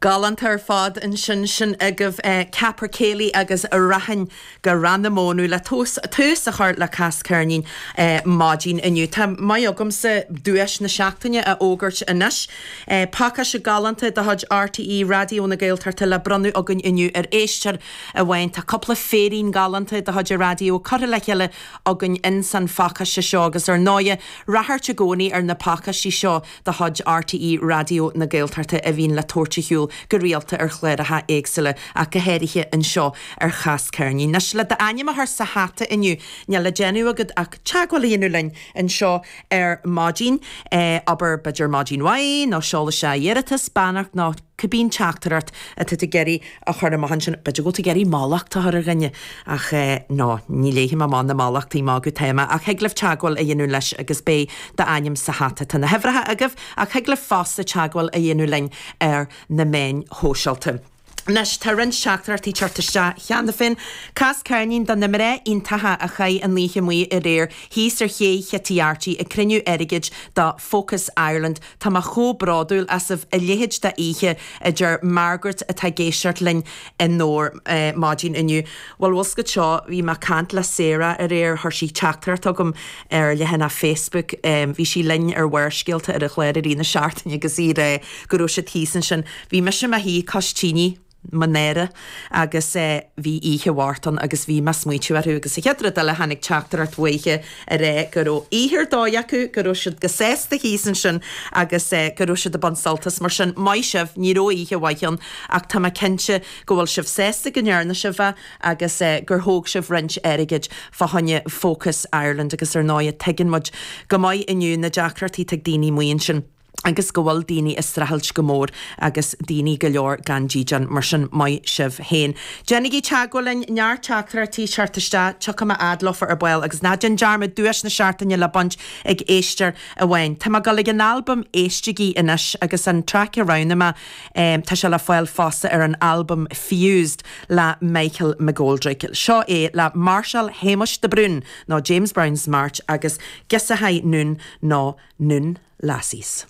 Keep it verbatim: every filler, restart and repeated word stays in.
Galánta ar fad ansin sin agaibh Capercaillie agus Rachainn go Ráth na Mónadh le tús a chur le Cas Ceirnín maidin inniu. Tá maith agamsa duais na seachtaine a fhógairt anois. Pacáiste galánta de chuid RTÉ Raidió na Gaeltachta le bronnadh againn inniu ar éisteoir amháin. Tá cúpla féirín galánta de chuid an raidió curtha le chéile againn ins an phacáiste seo agus ar ndóighe ráchairt i gcónaí ar na pacáistí seo de chuid RTÉ Raidió na Gaeltachta a bhíonn le tabhairt ar shiúl go rialta ar chláracha éagsúla ach go háirithe anseo ar Chas Ceirnín. Anois le d'ainm a chur sa hata inniu níl le déanamh agat ach teagmháil a dhéanamh linn anseo ar maidin, abair b'fhéidir maidin mhaith nó seol isteach iarratas, beannacht nó cibé teachtaireacht atá tú ag iarraidh a chur amach ansin. B'fhéidir go bhfuil tú ag iarraidh mallacht a chur ar dhuine ach ná ní léifidh mé amach na mallachtaí magaidh atá amach ach thig libh teagmháil a dhéanamh leis agus beidh d'ainm sa hata. Tá na huimhreacha agaibh ach thig libh fosta teagmháil a dhéanamh linn ar na meáin shóisialta. Anois, tá roinnt teachtaireachtaí teacht isteach cheana féin. Cas ceirnín do na mná iontacha a chaith an oíche amuigh aréir thíos ar ché Chití Archie ag cruinniú airgid do Focus Ireland. Tá mé chomh bródúil asaibh a leithéid d'oíche, a deir Margaret atá ag éisteacht linn i nDobhar maidin inniu. Bhuel, bhfuil 's agat seo, bhí mé ag caint le Sarah aréir, chuir sí teachtaireacht chugam ar leathanach Facebook. Bhí sí linn ar Bharrscéalta ar an chlár i rith na seachtaine agus í ag rá go raibh siad thíos ansin. Bhí mise i mo shuí cois tine, mo náire agus bhí oíche mharbh ann agus bhí mé ag smaoitiú orthu agus an chéad rud eile tháinig teachtaireacht uaithi ag rá go raibh oíche ar dóigh acu, go raibh siad go sásta thíos ansin agus go raibh siad ag baint sult as. Mar sin, maith sibh, ní raibh oíche mhaith ann ach tá mé cinnte go bhfuil sibh sásta go ndearna sibh é agus gur thóg sibh roinnt airgid fá choinne Focus Ireland agus ar ndóigh tuigeann muid go maith inniu na deacrachtaí atá ag daoine amuigh ansin. agus go bhfuil daoine ag streachailt go mór agus daoine go leor gan dídean, mar sin maith sibh féin. Déanaigí teagmháil linn, neart teachtaireachtaí ag teacht isteach, tiocfaidh mé fhad leofa ar ball agus ná déan dearmad duais na seachtaine le baint ag éisteoir amháin. Tá mé ag dul ag an albam Éistigí anois agus an traic a roghnaigh mé, tá sé le fáil fosta ar an albam Fused le Michael McGoldrick. Seo é le Máirseáil Shéamuis de Brún nó James Brown's March agus Giosachai Noon nó Noon Lassies.